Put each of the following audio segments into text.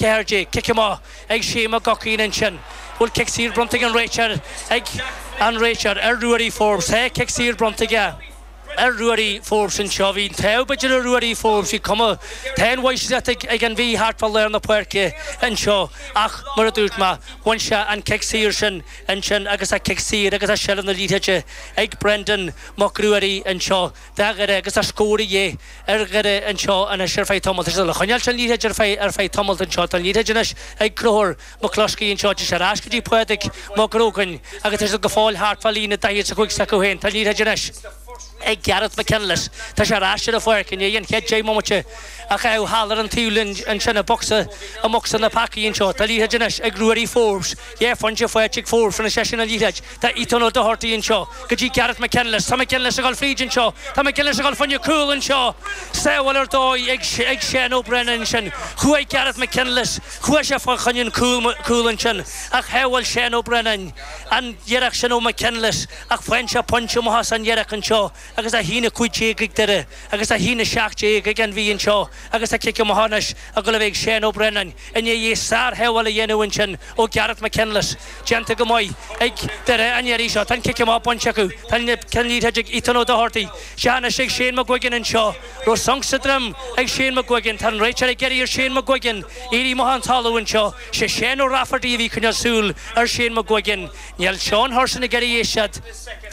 14. Cic amach ag Shane McGuckian ansin. Bhfuil cic saor bronnta ag an réiteoir ag an réiteoir ar Ruairí Forbes? Tá cic saor bronnta aige ar Ruairí Forbes anseo. Bhí an t-ádh b'fhéidir ar Ruairí Forbes. Bhí cuma, tá an mháistreacht ag an Mhí thart fá lár na páirce anseo ach mar a dúirt mé, bhain sé an cic saor sin ansin agus tá cic saor agus tá seilbh na liathróide ag Brendan Mac Ruairí anseo. Do Dhoire agus tá scór de dhíth ar Dhoire anseo anois ar feadh tamaill. Tá siad le coinneáil an liathróid ar feadh ar feadh tamaill anseo. Tá an liathróid anois ag Conchúr McCluskey anseo. Tá sé ar ais go dtí Pádraig Mac Grogan agus tá siad go fóill thart fá líne 45 s'acu féin. Tá an liathróid anois ag Gareth McKinless. Tá sé ar ais ar an pháirc i ndiaidh an chéad 10 mbomaite a chaitheamh thall ar an taobhlíne ansin i mbocsa i mbocsa na pacaí anseo. Tá an liathróid anois ag Ruairí Forbes. Dhá phointe faighte ag Forbes rinne seisean an liathróid. Tá Ethan O'Doherty anseo go dtí Gareth McKinless. Tá McGinless ag dul fríd anseo. Tá McGinless ag dul fá choinne cúl anseo. Sábháil ar dóigh ag ag Shane O'Brennan ansin. Chuaigh Gareth McKinless, chuaigh sé fá choinne an cúl cúl ansin ach shábháil Shane O'Brennan an iarracht sin ó McKinless ach faigheann sé pointe amach as an iarracht anseo agus 1-15 ag Doire agus 1-17 ag an Mhí anseo agus tá cic amach anois ag dul a bheith ag Shane O'Brennan. I ndiaidh sár-shábháil a dhéanamh ansin ó Gareth McKinless, déanta go maith ag Doire an iarraidh seo. Tá an cic amach bainte acu. Tá an liathróid ag Ethan O'Doherty. Sea anois ag Shane McGuigan anseo. Raibh sonc sa droim ag Shane McGuigan. Tá an réiteoir ag iarraidh ar Shane McGuigan éirí amach ón talamh anseo. Sé Shane O'Rafferty a bhí ag coinneáil súil ar Shane McGuigan. Níl Seán Hurson ag iarraidh éisteacht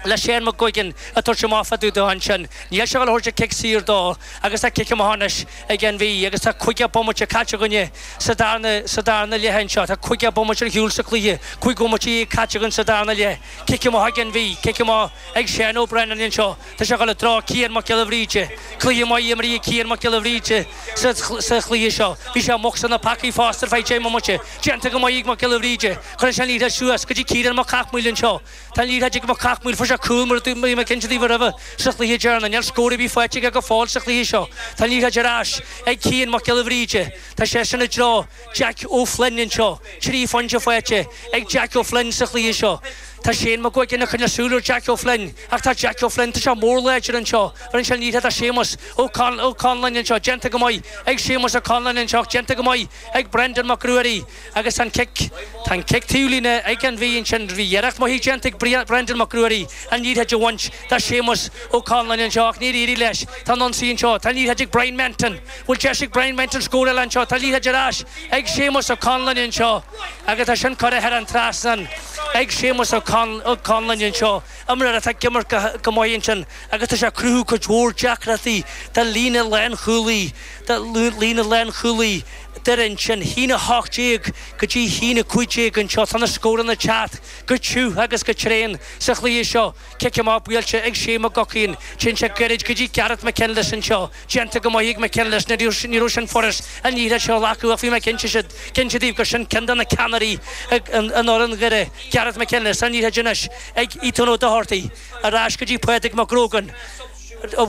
le Shane McGuigan ag tabhairt amach fá dtaobh dó ansin. Níl sé ag dul a thabhairt an cic saor dó agus tá cic amach anois ag an Mhí agus tá 50 bomaite caite againne sa darna sa darna leath anseo. Tá 50 bomaite ar shiúl sa chluiche, 15 bomaite caite againn sa darna leath. Cic amach ag an Mhí, cic amach ag Shane O'Brennan anseo. Tá sé ag dul i dtreo Cian Mac Giolla Bhríde. Cluiche maith imeartha ag Cian Mac Giolla Bhríde sa sa chluiche seo. Bhí sé i mbocsa na pacaí fosta ar feadh 10 mbomaite. Déanta go maith ag Mac Giolla Bhríde. Cuireann sé an liathróid suas go dtí Ciarán Mac Cathmhaoil anseo. Tá an liathróid ag Mac Cathmhaoil, fuair sé cúl mar a bhí mé ag inse daoibh roimhe sa chluiche deireanach. Níl scór ar bith faighte aige go fóill sa chluiche seo. Tá an liathróid ar ais ag Cian Mac Giolla Bhríde. Tá seisean i dtreo Jack O'Flynn anseo. 3 phointe faighte ag Jack O'Flynn sa chluiche seo. Tá Shane McGuigan ag coinneáil súil ar Jack O'Flynn ach tá Jack O'Flynn, tá sé mór láidir anseo. Bheireann sé an liathróid do Séamus Ó Conláin anseo. Déanta go maith ag Séamus Ó Conláin anseo ach déanta go maith ag Brendan Mac Ruairí. Agus an cic, tá an cic taobhlíne ag an Mhí ansin, bhí iarracht maith déanta ag Brendan Mac Ruairí an liathróid a bhaint de Séamus Ó Conláin anseo ach níor éirigh leis. Tá an ionsaí anseo, tá an liathróid ag Brian Menton. Bhfuil deis ag Brian Menton scór eile anseo? Tá an liathróid ar ais ag Séamus Ó Conláin anseo agus tá sin curtha thar an trasnán ag Séamus Ó Conláin anseo. Imreoir atá ag imirt go maith ansin agus tá sé ag cruthú cuid mhór deacrachtaí do líne lánchúlaí, do líne lánchúlaí. Doire ansin, 1-18 go dtí 1-15 anseo. Tá na scóranna ag teacht go tiubh agus go tréan sa chluiche seo. Cic amach buailte ag Shane McGuckian. Téann sé gairid go dtí Gareth McKinless anseo. Déanta go maith ag McKinless. Ní raibh sin furast an liathróid seo a ghlacadh ach bhí mé cinnte daoibh gur sin ceann de na ceannairí in fhoireann Dhoire, Gareth McKinless. An liathróid anois ag Ethan O'Doherty. Ar ais go dtí Pádraig McGrogan.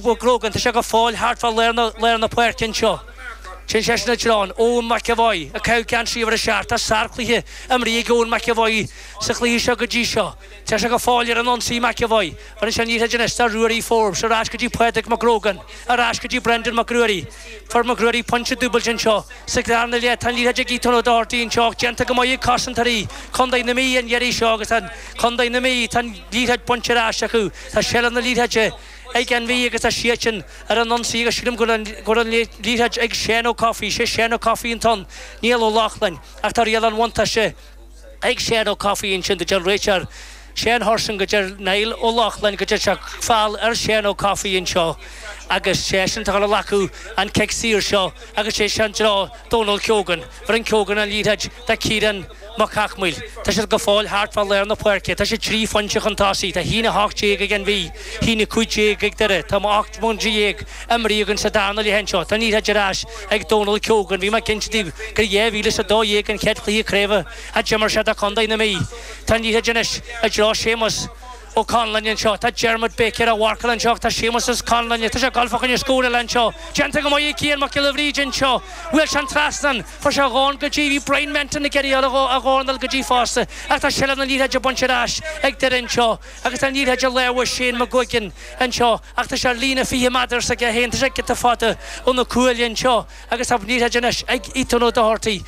McGrogan, tá sé go fóill thart fá lár na páirce anseo. Téann seisean i dtreo Eoin McEvoy ag caitheamh geansaí uimhir a 7. Tá sárchluiche imrithe ag Eoin McEvoy sa chluiche seo go dtí seo. Tá sé go fóill ar an ionsaí McEvoy. Bheireann sé an liathróid anois do Ruairí Forbes. Ar ais go dtí Pádraig McGrogan. Ar ais go dtí Brendan Mac Ruairí. Fuair Mac Ruairí pointe dúbailte anseo sa darna leath. Tá an liathróid ag Ethan O'Doherty anseo ach déanta go maith ag cosantóirí Chontae na Mí an iarraidh seo agus tá Contae na Mí, tá an liathróid bainte ar ais acu. Tá seilbh na liathróide ag an Mhí agus tá siadsan ar an ionsaí agus sílim go bhfuil an liathróid ag Shane Ó Cofaigh. Sé Shane Ó Cofaigh an t-ann, Niall Ó Lochlainn ach tá riail an bhuntáiste ag Shane Ó Cofaigh ansin. Do deir an réiteoir Shane Hurson go deir Niall Ó Lochlainn go deir sé feall ar Shane Ó Cofaigh anseo agus seisean atá ag dul a ghlacadh an cic saor seo agus sé sin i dtreo Dónal Keogan. Bheireann Keogan an liathróid do Ciarán Mac Cathmhaoil. Tá siad go fóill thart fá lár na páirce. Tá siad 3 phointe chun tosaigh. Tá 1-18 ag an Mhí, 1-15 ag Doire. Tá 18 bomaite imeartha againn sa darna leath anseo. Tá an liathróid ar ais ag Dónal Keogan. Bhí mé ag inse daoibh gur 2012 an chéad chluiche craoibhe a d'imir sé do Chontae na Mí. Tá an liathróid anois i dtreo Séamus. Ó Conluain anseo. Tá Dermot Baker á mharcáil anseo ach tá Séamus Conluain, tá sé ag dul fá choinne scór eile anseo. Déanta go maith ag Cian Mac Giolla Bhríde anseo. Bhuail sé an trasnán. Fuair sé a dhorn go dtí, bhí Brian Menton ag iarraidh a dhorn a fháil go dtí fosta ach tá seilbh na liathróide bainte ar ais ag Doire anseo agus tá an liathróid i lámha Shane McGuigan anseo ach tá sé ar líne 20 méadar s'aige féin, tá sé giota fada ó na cuaille anseo agus tá an liathróid anois ag Ethan Ó Dochartaigh.